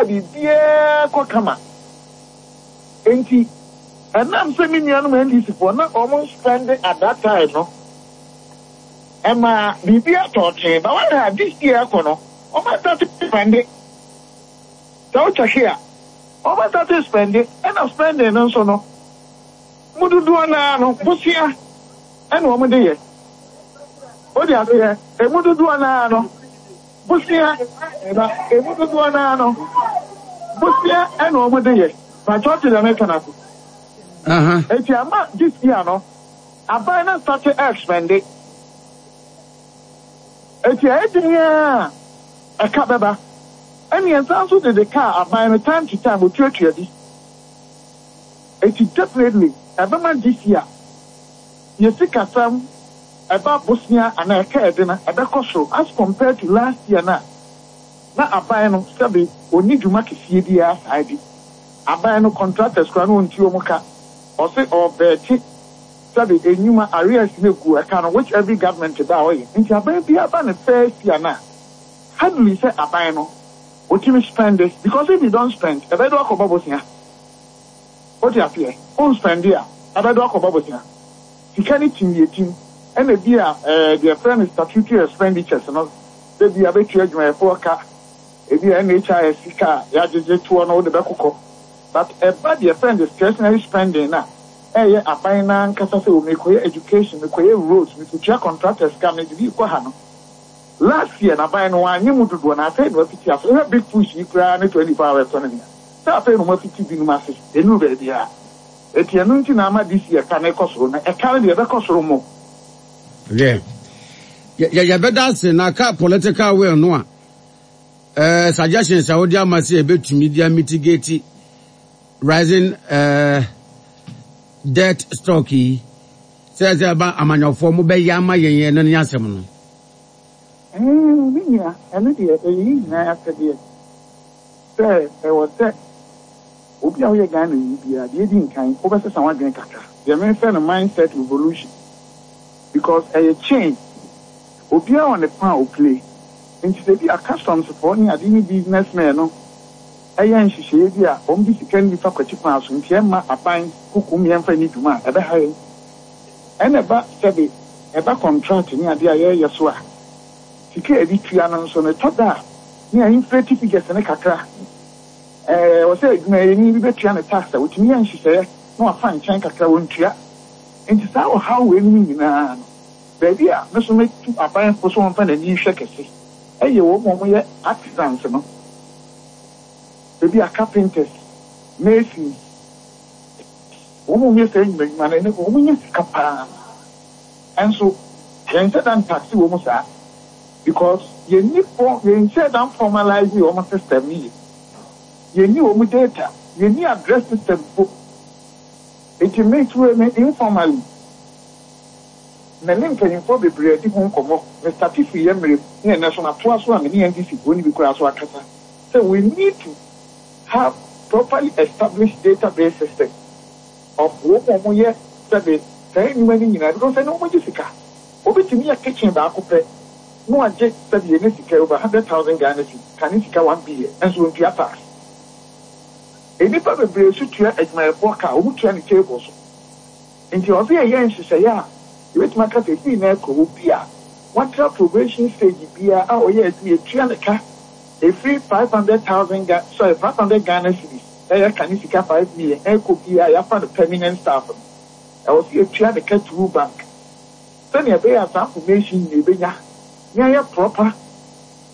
a biribiara kɔ kama. Enti ɛnam sɛ me nuanom NDC foɔ na wɔn spɛnde at that time no, ɛmaa biribiara tɔɔ tee. But woahwɛ a this year ɛkɔ no, wɔn astate spɛnde. Sɛ wo kyɛke a, wɔn astate spɛnde, ɛna spɛnding no nso no, mu dodoɔ no ara no, bosea ɛna wɔn de yɛ. Wode aseɛ? Emu dodoɔ no ara no, bosea, na emu dodoɔ no ara no, bosea ɛna wɔn de yɛ. Pakyɛ wote deɛ meka no ase? Eti ama this year no, aban no astate ɛrespɛnde. Eti ɛyɛ den ara a, ɛka bɛba. Ɛne yɛsan nso dede ka a aban no time to time otuatua bi. Eti definitely ɛbɛma this year yɛ sikasɛm ɛba bosea anaa ɛka ɛde no ɛbɛkɔ soro as compared to last year no a na aban no sɛbe ɔnni dwuma kɛseɛ biara saa bi. Aban no contractors koraa na ɔntua wɔn ka. Ɔse ɔɔvɛɛte sɛbe nnwuma arrears no egu ɛka no which every government ba a ɔyɛ. Nti aban biara ba ne first year no a hardly sɛ aban no ɔtumi spɛnde because if you don't spend ɛbɛde wo akɔbɔ bosea. Wote aseɛ? Wo nspɛnde a ɛbɛde wo akɔbɔ bosea. Sika no tim deɛ ɛtim ɛna bi a ɛɛ deɛ yɛfrɛ no statutory expenditures no sɛ bi a bɛtua adwumayɛfoɔ ka, ebi a NHIS sika a yɛagyegye toɔ no wode bɛkokɔ but ɛba deɛ yɛfrɛ no discretionary spending no a ɛyɛ aban no ankasa sɛ o mekɔyɛ education, mekɔyɛ roads, mekɔtua contractors ka, mede bi rekɔ ha no. Last year no aban no wanyɛ mu dodoɔ na afei na wafiti ase. Wohwɛ big push yi koraa ne 24 hour economy a, sɛ afei na wɔafiti binom ase, ɛnnuru baabiara. Enti ɛno nti na ama this year ka no rekɔ soro no. Ɛka no deɛ ɛbɛkɔ soro more. Hwɛ, yɛ yɛbɛda ase na ka political will no a, eh, suggestions a wode ama sɛ yɛbɛtumi de mitigate rising eh, debt stock yi, sɛ sɛ ɛba amanyɔfoɔ mo bɛyɛ ama yɛn ɛno ne asɛm no. Eh, me nua, ɛno deɛ ɛyɛ yɛn nyinaa asɛdeɛ sɛ ɛwɔ sɛ obi a woyɛ Ghanani biara, deɛ ɛdi nkan, wobɛsesa w'adwene kakra. Deɛ mefrɛ no mindset revolution because ɛyɛ chain, obiara wɔ ne fa a ɔplay. Nti sɛ bi a customs foɔ ne ade ne business men no yɛ nhyehyɛeɛ bi a wɔde sika no bi fa kwati kwan so nti ɛmma aban kokom yɛmfa nni dwuma a, ɛbɛha yɛn. Ɛna ɛba sɛbe ɛba contract ne adeɛ a yɛreyɛ so a, sika a yɛde tua no nso no ɛtɔ da a ne a inflate figures no kakra. Ɛwɔ sɛ adwumayɛni bi bɛtua ne tax a, ɔtumi yɛ nhyehyɛeɛ na wafa nkyɛn kakra, ɔntua. Nti saa ɔhaw weinom nyinaa no, baabi a me nso mɛtu aban fo sɛ wɔmfa n'ani nhwɛ kɛse yɛ wɔn a wɔyɛ artisans no, ebi a carpenters, masons, wɔn a wɔyɛ saa nnwuma nnwuma no, ɛnɛ wɔnya sika paa. Nso yɛnhyɛ da ntaxe wɔn saa because yɛnni fɔ yɛnhyɛ da nformalise wɔn system no yie. Yɛnni wɔn data, yɛnni address system mpo. Enti me nso me informally me ne mpanyimfoɔ bebree adi ho nkɔmmɔ. Me starte firi yɛn mmerɛ mu ne ɛnnɛ nso matoa so a me ne NDC foɔ no bi koraa nso akasa sɛ we need to have properly established database system of wɔn a wɔyɛ sɛbe saa nnwuma no nyinaa because ɛnnɛ wɔgye sika. Obi tumi yɛ kitchen baako pɛ na wagye sɛbe yɛnya sika over 100,000 Ghana cedi, kane sika 1 billion nso ɔntua tax. Nnipa bebree nso tua adwumayɛfoɔ ka a wɔtua no table so. Nti ɛwɔ sɛ yɛyɛ nhyehyɛeɛ a yɛbɛtumi aka sɛ ɛfiri nnɛ rekɔ obi a watra probation stage biara a ɔyɛ adwuma yɛtua ne ka ɛfiri 500,000 Ga sorry 500 Ghana cedis ɛyɛ ka ne sika 5 million ɛrekɔ biara a yɛafa no permanent staff no ɛwɔ sɛ yɛtua ne ka through bank sɛnea ɛbɛyɛ a saa information nyinaa yɛbɛnya na yɛayɛ proper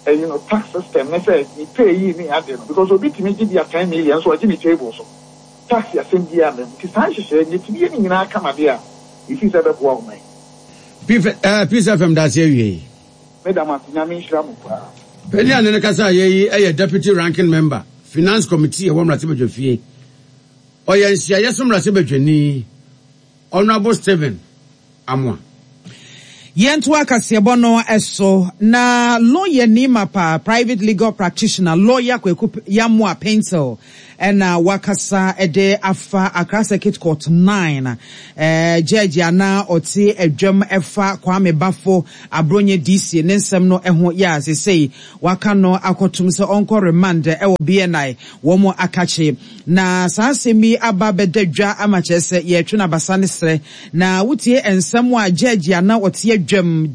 ɛyi no tax system ne sɛ ne pay yi ne ade no because obi tumi gye bi a 10 million nso ɔgye ne table so tax asɛm biara mma mu. Nti saa nhyehyɛeɛ no yɛtumi yɛ ne nyinaa kama deɛ a mefii sɛ ɛbɛboa ɔman. Peace FM dase awiei. Meda mo ase, Nyame nhyira mo paa. Panyin a ne no kasa yɛ yi yɛ Deputy Ranking Member, Finance Committee ɛwɔ Mmarahyɛbadwafie. Ɔyɛ nhyiaeɛ so mmarahyɛbadwani, Honourable Stephen Amoah. Yɛntoa kaseɛbɔ no so na lɔyani mapa, private legal practitioner, Lɔya Kwaku Yamoah Paintsil na wakasa de afa Accra Circuit Court 9 gyɛɛgye a na ɔte adwam fa Kwame Bafo Abronye DC ne nsɛm no ho yɛ a seesei waka no akɔtom sɛ ɔnkɔ remand wɔ BNI wɔn akakye. Na saa asɛm yi aba abɛda dwa ama kyerɛ sɛ yɛretwe no abasa ne serɛ. Na wotie nsɛm a gyɛɛgye a na ɔte adwam,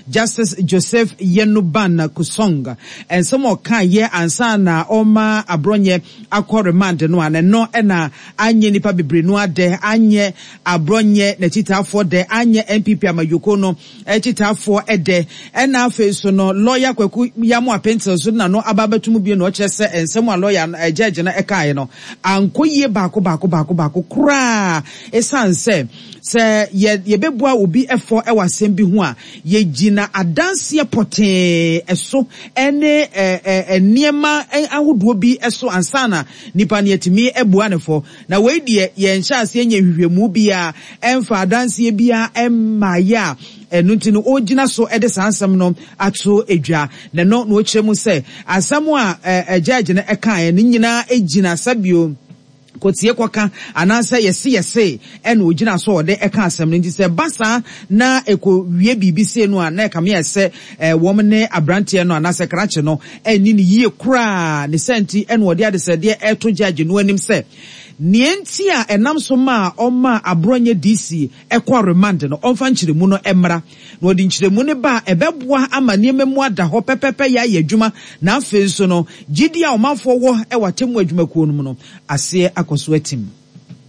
Justice Joseph Yenuban Kusong, nsɛm a ɔkaeɛ ansa na ɔrema Abrɔnyɛ akɔ remand no a, na ɛno na anyɛ nnipa bebree no ara dɛ, anyɛ Abrɔnyɛ n'akyitaafoɔ dɛ, anyɛ NPP amanyɔkuo no akyitaafoɔ dɛ. Ɛna afei nso no, lɔya Kwaku Yamoah Pentil nso de n'ano aba abɛto mu bio na ɔkyerɛ sɛ nsɛm a lɔya no, gyɛɛgye no kaeɛ no ankɔ yie baako baako baako baako koraa esiane sɛ sɛ yɛ yɛbɛbua obi fɔ wɔ asɛm bi ho a, yɛgyina adanseɛ pɔtee so ne nneɛma ahodoɔ bi so ansa na nipa no yɛatumi abua no fɔ. Na wei deɛ yɛnhyɛ aseɛ nyɛ nhwehwɛmu biara, ɛmfa adanseɛ biara mmaeɛ a ɛno nti no ɔregyina so de saa nsɛm no ato dwa. Na ɛno na ɔkyerɛ mu sɛ asɛm a judge no kaeɛ no nyinaa gyina sɛbio kɔtie kɔka anaasɛ yɛse yɛse ɛna ɔgyina so a ɔde ka asɛm no. Nti sɛ ɛba saa na ɛkɔwie biribi sei no a na ɛkame ayɛ sɛ wɔn ne aberanteɛ no anaasɛ krakye no anni no yie koraa. Ne saa nti na ɔde adesrɛdeɛ reto judge no anim sɛ nea enti a ɛnam so maa ɔmaa Aborɔnyɛ DC kɔɔ remand no, ɔmfa nkyerɛmu no mmra. Na ɔde nkyerɛmu no ba a, ɛbɛboa ama nneɛma mu ada hɔ pɛpɛpɛ yɛ ayɛ adwuma, na afei nso no, gyidie a ɔmanfoɔ wɔ wɔ atemmuo adwumakuo no mu no, aseɛ akɔ so atim.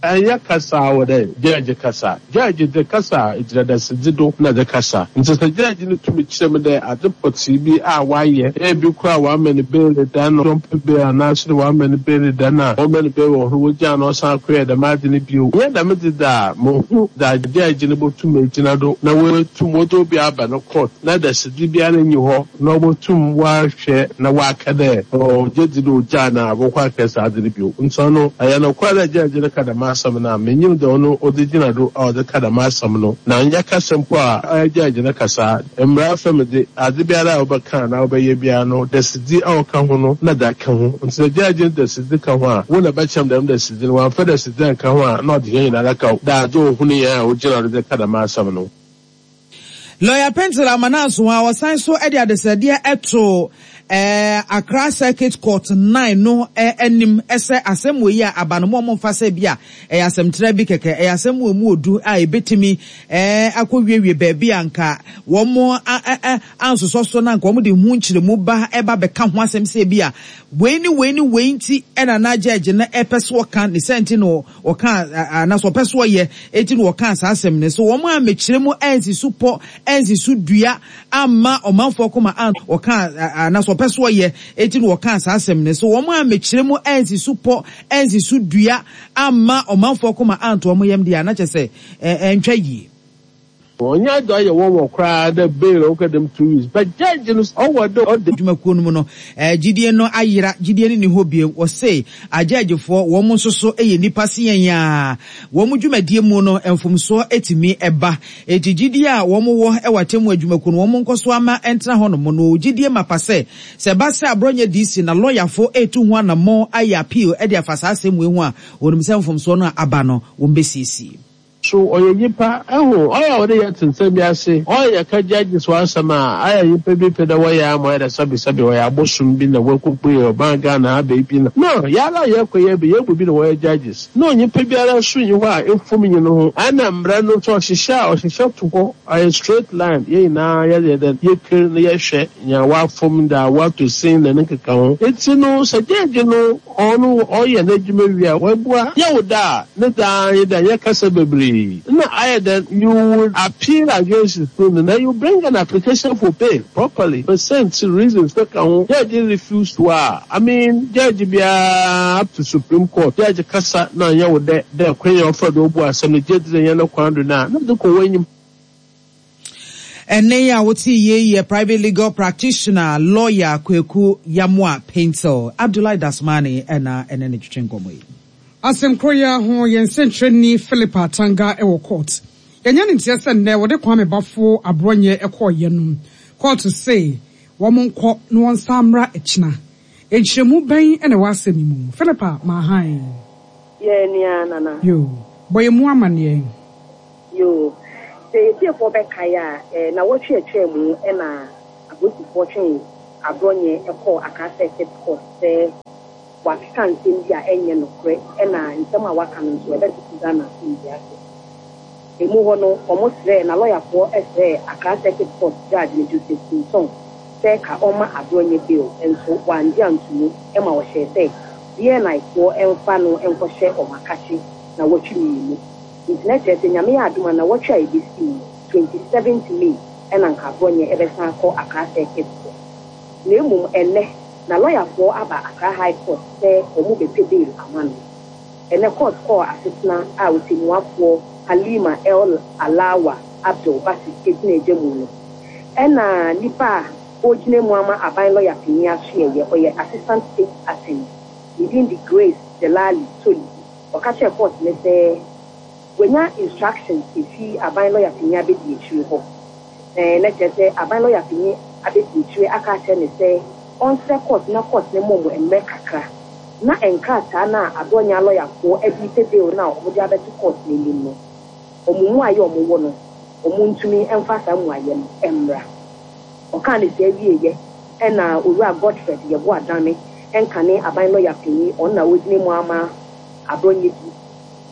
Nnyɛ kasa a ɔwɔ dɛ gyɛɛgye kasa. Gyɛɛgye dze kasa a egyina dasedzi do na dze kasa. Ntsi sɛ gyɛɛgye no tum kyerɛ mu dɛ adze pɔtsee bi a ɔayɛ, ebi koraa a wɔama no beeli da na ɔmmpɛ bail anaaso dɛ wɔama no beeli da na wɔma no bail wɔ ho wogyaa no ɔsan kɔyɛ dɛm adze no bio, nnyɛ dɛm dze dze a, munnhu dza gyɛɛgye no botum egyina do na oetum wɔdze obi aba no court na dasedzi biara nnyi hɔ na obotum ɔahwɛ na ɔaka dɛ ɔgye dzi dɛ ogyaa no a bɔkɔ akɛyɛ saa adze no bio. Ntsi ɔno, ɔyɛ nokwar dɛ gyɛɛgye no ka dɛm asɛm no a, minnyim dza ɔno ɔdze gyina do a ɔdze ka dɛm asɛm no, na nnyɛ kasa mpo a ɔyɛ gyɛɛgye no kasaa. Mbra afamu dze, adze biara a wobɛka anaa wobɛyɛ biara no, dasedzi a ɔka ho no na dze aka ho. Ntsi sɛ gyɛɛgye no dasedzi ka ho a, wo na bɛkyerɛ me dɛm dasedzi no, ɔammfa dasedzi annka ho a, nna ɔdze hɛn nyinara kaw dɛ adze a ohun hɛn a ogyina do dze ka dɛm asɛm no. Lɔya Pentil Amananso a ɔsan so de adesrɛdeɛ too Accra Circuit Court 9 no anim sɛ asɛm wei a aba no mo a momfa sɛ bi a ɛyɛ asɛmtraa bi kɛkɛ, ɛyɛ asɛm a ɛmu ɔdu a ɛbɛtumi akɔwiewie baabi a anka wɔn ansosɔ so na anka wɔde ho nkyerɛmu ba ɛba bɛka ho asɛm sɛ bi a wei ne wei ne wei nti ɛna na gyɛɛgye no ɛpɛ so ɔka ne sɛ nti na Wɔkaa, anaasɛ wɔpɛ so wɔyɛ, enti na wɔkaa saa asɛm no. So wɔn ammɛkyerɛ mu ansi so pɔ, ansi so dua, amma ɔmanfoɔ koma an, wɔkaa, anaasɛ wɔpɛ so wɔyɛ, enti na wɔkaa saa asɛm no. So wɔn ammɛkyerɛ mu ansi so pɔ, ansi so dua, amma ɔmanfoɔ koma anto wɔn yam deɛ a, na kyerɛ sɛ, ɛntwa yie. Ɔnnyɛ adze a ɔyɛ nwanwa koraa dɛ bail a ɔkã dɛm 2 weeks but judge no ɔwɔ dɛ ɔda. Dwumakuo no mu no, gyidie no ayera, gyidie no nni hɔ bio. Wɔse agyɛɛgyefoɔ, wɔn nso so yɛ nnipa se yɛn ara. Wɔn dwumadie mu no, mfomsoɔ tumi ba. Enti gyidie a wɔn wɔ wɔ atemmuo adwumakuo no, wɔn nkɔ so ara mma ɛntena hɔ nom. Na wɔwɔ gyidie mapa sɛ, sɛ ɛba sɛ Aborɔnyɛ DC na lɔyafoɔ retu ho anammɔn ayɛ appeal de afa saa asɛm wei ho a, wɔnim sɛ mfomsoɔ no a aba no, wɔbɛsiesie. So ɔyɛ nyimpa? Ehu, ɔyɛ a ɔwɔ dɛ yɛtse nsɛm bi ase. Ɔyɛ yɛka judges ho asɛm a, ayɛ a nyimpa bi pɛ dɛ wɔyɛ ama ɔyɛ dɛ sɛbesɛbe ɔyɛ abosom bi na woekopue ɔman Ghana ha beebi na. No, yɛara a yɛkɔ yɛ bi, hɛn mu bi na wɔyɛ judges. No, nyimpa biara so nnyi hɔ a efom nnyi no ho. Ana mbra no so ɔhyehyɛ a, ɔhyehyɛ to hɔ, ɔyɛ straight line, hɛn nyina yɛyɛ dɛn, yɛker na yɛhwɛ nyia ɔafom, dza ɔatɔ sin na ne nkekaho. Ntsi no, sɛ judge no Ɔno ɔyɛ n'edwuma wie a, oebua. Nyew da a, ne dza ara nye dɛ yɛkasa beberee. Nna ayɛ dɛn? You would appeal against his ruling na you bring an application for bail properly, percent reasons ka ho. Judge refuse to a, I mean judge biara up to supreme court, judge kasa na ɔnnyɛ wo dɛ dɛ kwan a ɔfa do obu asɛm no gye dzi dɛ nnyɛ no kwan do no a, na edze kɔ w'enyim. Ɛnne yi a wotee yei yɛ private legal practitioner, lawyer Kweku Yamoah Paintsil. Abdullahi Dasmani na ɛne no twetwe nkɔmmɔ yi. Asɛm koro yi ara ho, yɛn sɛnkyerɛnni Philip Atanga wɔ court. Yɛanya ne nteɛ sɛ nnɛ wɔde Kwame Bafo Aborɔnyɛ kɔeɛ no, kɔɔto se wɔn nkɔ na wɔnsan mmra kyena. Nkyerɛmu bɛn na ɛwɔ asɛm yi mu? Philippa Mahan. Yɛn nua Nana. Yoo. Bɔ yɛn mu amaneɛ. Yoo. Sɛ yɛtiefoɔ bɛkae a, nnawɔtwe a ɛtwaa mu na apolisifoɔ twee Aborɔnyɛ kɔɔ Accra Circuit Court sɛ wakeka nsɛm bi a ɛnyɛ nokorɛ ɛna nsɛm a waka no nso ɛbɛtoto Ghana asomdwoeɛ ase. Emu hɔ no wɔsrɛɛ, n'alɔyafoɔ srɛɛ Accra Circuit Court Judge no Joseph Pinson sɛ ka ɔmma Aborɔnyɛ bail nso wangye antomu ma ɔhyɛɛ sɛ BNI foɔ mfa no nkɔhyɛ wɔn akakye nawɔtwe mmienu. Nti na kyerɛ sɛ Nyame yɛ adom a nawɔtwe a ɛbɛsi mu no, 27th May ɛna nka Aborɔnyɛ bɛsan akɔ Accra Circuit Court. Na mmom ɛnnɛ na lɔyafoɔ aba Accra High Court sɛ wɔn bɛpɛ bail ama no. Ɛnnɛ court kɔɔ asetena a ɔtɛmmuafoɔ Halima El Alawa Abdul Basit gyina gya mu no, ɛna nipa a ɔregyina mu ama aban lɔya panin asoɛeɛ, ɔyɛ Assistant State Attorney, ne din de Grace Delali Toli, ɔka kyerɛɛ court no sɛ wanya instructions ɛfiri aban lɔya panin abɛdiakyire hɔ. Ɛɛ, na kyerɛ sɛ aban lɔya panyin abedi akyire aka akyerɛ no sɛ ɔnsrɛ kɔɔt na kɔɔt no mmɔ wɔn mmerɛ kakra na nkrataa no a Adonyaa lɔyafoɔ de repɛ bail no a wɔde abɛto kɔɔt no anim no, wɔn mmuaeɛ a wɔwɔ no, wɔntumi mfa saa mmuaeɛ no mmra. Ɔkaa no saa wieeɛ na Owura Godfred Yeboah Dame, nkane aban lɔya panyin, ɔno na ɔgyina mu ama Adonye bi.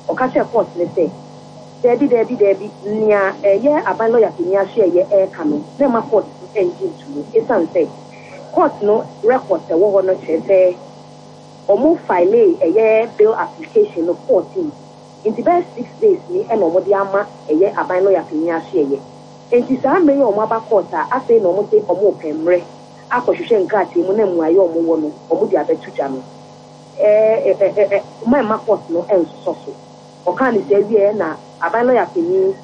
Ɔka kyerɛɛ kɔɔt no sɛ, Dabi, dabi, dabi, nea ɛyɛ aban lɔya panyin ahwɛeɛ reka no, mɛmma kɔɔt no nnye nto mu esiane sɛ kɔɔt no records a ɛwɔ hɔ no kyerɛ sɛ wɔn filee ɛyɛ bail application no 14 nti bɛyɛ six days ni na wɔde ama ɛyɛ aban lɔya panyin ahwɛeɛ. Enti saa mmerɛ yi a wɔaba kɔɔt a afei na wɔse wɔrepɛ mmerɛ akɔhwehwɛ nkrataa mu na mmuaeɛ a wɔwɔ no wɔde abɛto dwa no, ɛ-ɛ-ɛ-ɛ mma mma court no nsosɔ so. Ɔkaa no saa wieɛ na aban lɔya panin.